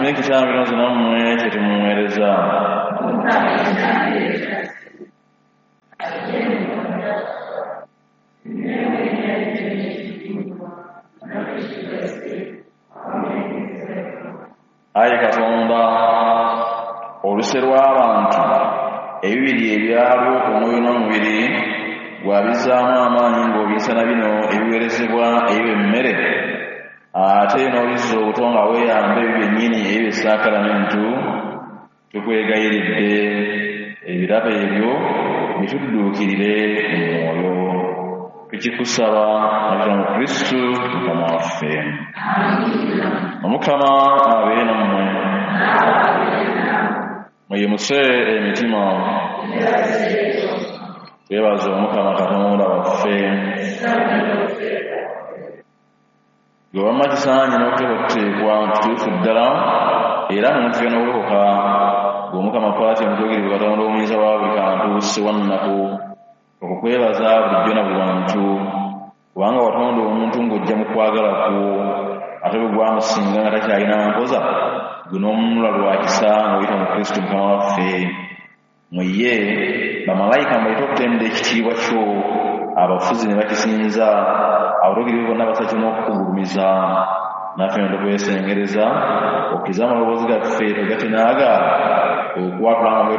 Atumye ekitambiro nze nammwe kye tumuweereza. Ayi Katonda, oluse lw'abantu ebibiri ebyalwo omwoyo n'omubiri gwabizzaamu amaanyi ng'obiyisa na bino ebiweerezebwa ebiba emmere, ate n'obizza obuto nga weeyamba ebyo byennyini ebiba essaakalamentu. Tukwegayiridde ebirabo ebyo bitudduukirire mu mwoyo. Tukikusaba nga mu Kristu Mukama waffe. Omukama abeere nammwe. Muyimuse emitima. Twebaze Omukama Katonda waffe. Gwe wamma kisaanye n'okuteekwateekwa kituufu ddala era muntu n'okulokoka. Gwe Omukama kwatya omutuukirivu Katonda omuyinza wa buli kantu ssewannaku, okukwebaza bulijjo na buli wantu, kubanga watonda omuntu ng'ojja mu kwagala kwo, ate bwe gwamusinga nga takyalina mpoza, gwe n'omununula lwa kisa ng'oyita mu Kristo Mukama waffe. Mu ye bamalayika mbayite okutenda ekitiibwa kyo, abafuzi ne bakisinza, abatuukirivu bonna bassa kimu okukugulumiza. Naffe ne tukwesengereza okkirize amaloboozi gaffe togatte n'agaabwe okwatula nga bwe